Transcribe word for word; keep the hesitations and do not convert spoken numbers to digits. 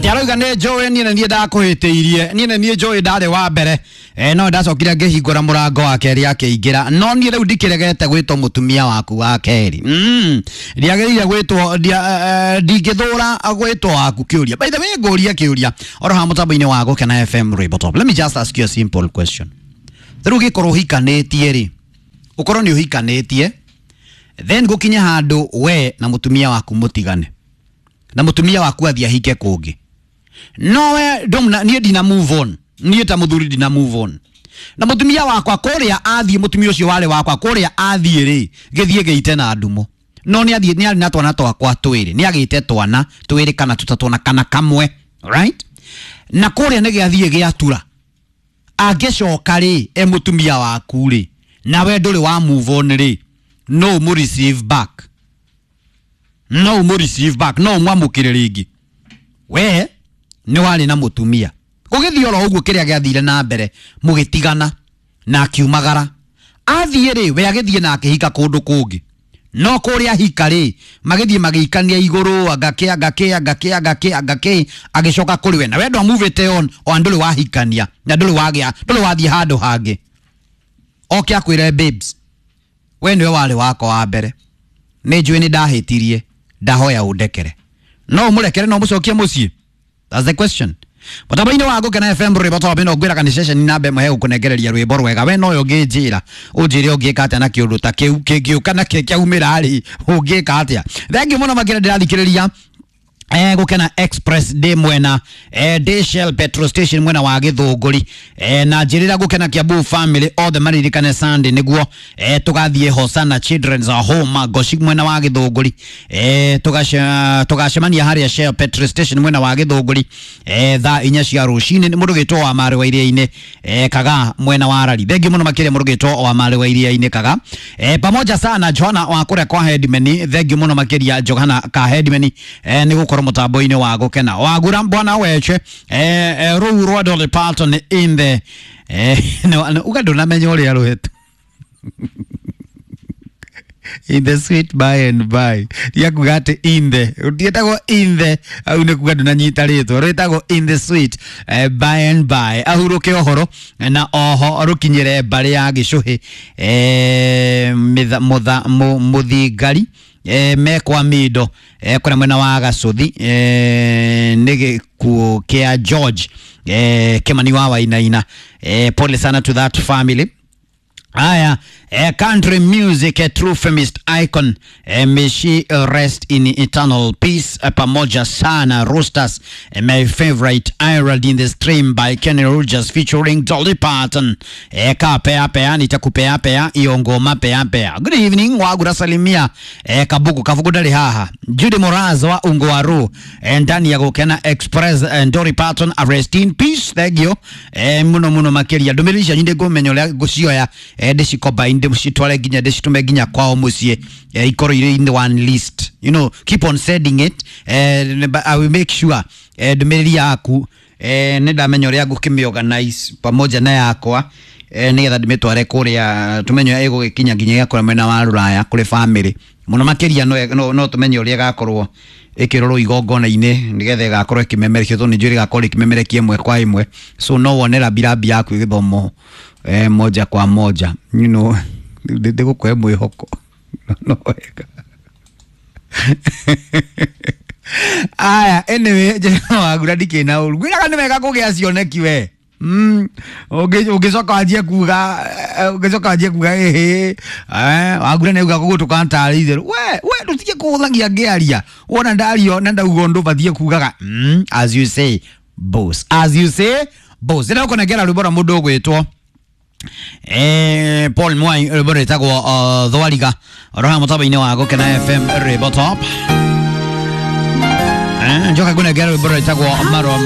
Ati arauga nĩ njũĩ niĩ nĩ niĩ ndakũhĩtĩirie, niĩ nĩ niĩ njũĩ ndarĩ wa mbere, eh, no ndacokire ngĩhingũra mũrango wa kerĩ akĩingĩra, no niĩ rĩu ndikĩregete gwĩtwo mũtumia waku wa kerĩ. Mm, ndiagĩrĩire gwĩtwo, ndingĩthũra gwĩtwo waku kĩũria. By the way, ngũrie kĩũria oro haha mũtambo-inĩ wa Gũkena F M Rainbow Top. Let me just ask you a simple question. Rĩu ũngĩkorwo ũhikanĩtie rĩ, ũkorwo nĩ ũhikanĩtie, then gũkinye handũ we na mũtumia waku mũtigane, na mũtumia waku athiĩ ahike kũngĩ, no we ndũmna, niĩ ndina move on, niĩ ta mũthuri ndina move on na mũtumia wakwa kũrĩa athiĩ, mũtumia ũcio warĩ wakwa kũrĩa athiĩ rĩ, gĩthiĩ gĩite na ndumo, no nĩ athiĩ, nĩ arĩ na twana twakwa twĩrĩ, nĩ agĩte twana twĩrĩ kana tũtatũ na kana kamwe, right? Na kũrĩa nĩ gĩathiĩ gĩatura, angĩcoka rĩ e mũtumia waku rĩ, na we ndũrĩ wa move on rĩ, no ũmũ receive back, no ũmũ receive back, no ũmwamũkĩre rĩngĩ. We nĩ warĩ na mũtumia, gũgĩthiĩ oro ũguo kĩrĩa gĩathire na mbere, mũgĩtigana na akiumagara, athiĩ rĩ, we agĩthiĩ na akĩhika kũndũ kũngĩ, no kũrĩa hika rĩ, magĩthiĩ magĩikania igũrũ, angakĩ angakĩ angakĩ angakĩ angakĩ, agĩcoka kũrĩ we, na we ndwamuvĩte on, o ndũrĩ wahikania na ndũrĩ wagĩa, ndũrĩ wathiĩ handũ hangĩ, oke akwĩre babes, we nĩwe warĩ wakwa wa mbere, nĩ njũĩ nĩ ndahĩtirie, ndahoya ũndekere, no ũmũrekere, no ũmũcokie mũciĩ? That's the question. Mũtambo-inĩ wa Gũkena F M Rwĩmbo Top ĩno ngwĩraga nĩ ceceni namba ĩmwe hegũkũnengereria rwĩmbo rwega. We noyo ũngĩnjĩra, ũnjĩre ũngĩka atĩa na kĩũndũ ta kĩu kĩngĩũka na kĩaumĩra rĩ, ũngĩka atĩa? Thengiũ mũno makĩria ndĩrathikĩrĩria eh, Gũkena Express ndĩ mwena eh, ndĩ Shell petrol station mwena wa Gĩthũngũri, eh, na njĩrĩra Gũkena Kiambu family othe maririkane Sunday nĩguo eh, tũgathiĩ Hosana Children's Home Goshi mwena wa Gĩthũngũri, eh, tũgacemania harĩa Shell petrol station mwena wa Gĩthũngũri eh, thaa inya cia rũcinĩ. Nĩ mũndũ gĩtwo wa Marĩ wa Iria-inĩ eh, Kaga mwena wa Rari. Thengiũ mũno makĩria mũndũ gĩtwo wa Marĩ wa Iria-inĩ Kaga, eh, pamoja sana Johana wa kũrĩa kwa Headman. Thengiũ mũno makĩria Johana ka Headman eh, nĩ gũkorwo mũtambo-inĩ wa Gũkena. Wagura bwana weche eh, eh, rũu rwa Dolly Parton in the eh, no, no, uga ndũnamenya ũrĩa rũhetũ in the sweet by and by, tiakuga atĩ in the, rũtiĩtagwo in the, au nĩ kuga ndũnanyita rĩtwa, rwĩtagwo in the sweet eh, by and by, ahurũke ũhoro na oho rũkinyĩre mbarĩ ya Gĩcũhĩ eh, mũthingari eh, mekwa mindo eh, kũrĩa mwena wa Gacũthi eh, nĩ gĩkuũ kĩa George eh, Kĩmani wa Wainaina. eh, pole sana to that family. Aya, eh, country music, a true feminist icon, eh, may she rest in eternal peace. Eh, pamoja sana Roosters, eh, my favorite Ireland in the Stream by Kenny Rogers featuring Dolly Parton. Eh, ka pea pea nitakupea pea iyo ngoma pea pea. Good evening wagura salimia eh, kabuku kabuku dali haha Judy Moraz wa Ungoaru eh, ndani ya Gũkena Express eh, Dolly Parton rest in peace. Thank you eh, muno muno makiria ndũmĩrĩri cianyu ndĩngũmenya ũrĩa ngũcioya eh, ndĩcikomba ndĩcitware nginya ndĩcitũme nginya kwao mũciĩ eh, ikorwo irĩ in the one list, you know, keep on sending it eh, but I will make sure eh, ndũmĩrĩri yaku eh, nĩ ndamenya ũrĩa ngũkĩmĩorganize pamoja na yakwa eh, nĩgetha ndĩmĩtware kũrĩa tũmenye ĩgũgĩkinya nginya ĩgakorwo mwena wa Rũraya kũrĩ family mũno makĩria, no, no, no tũmenye ũrĩa ĩgakorwo ĩkĩrorwo igongona-inĩ nĩgetha ĩgakorwo ĩkĩmemerekio, tondũ nĩ njũĩ ĩgakorwo ĩkĩmemerekia ĩmwe kwa ĩmwe, so no wone rambirambi yaku ĩgĩthomwo eh, moja kwa moja, you know, ndĩgũkũhe mwĩhoko no wega. Aya, anyway, njĩra wagura ndikĩ na ũru, ngwĩraga nĩ wega kũgĩa cioneki we. Mm, ũngĩcoka wanjie kuga, ũngĩcoka wanjie kuga ĩhĩ, eh, wagura nĩ auga gũgũtũka tarĩ itherũ, we we ndũtige kũhũthagia ngĩaria, wona ndario na ndauga ũndũ ũbatiĩ kugaga mm, as you say boss, as you say boss. Ndĩrenda gũkũnengera rwĩmbo rwa mũndũ ũgwĩtwo eh, Paul Mwai, rwĩmbo rwĩtagwo uh, Thwariga, oro haha mũtambo-inĩ wa Gũkena F M Rainbow Top. Eh, njoka ngũnengera rwĩmbo rwĩtagwo Marũa ma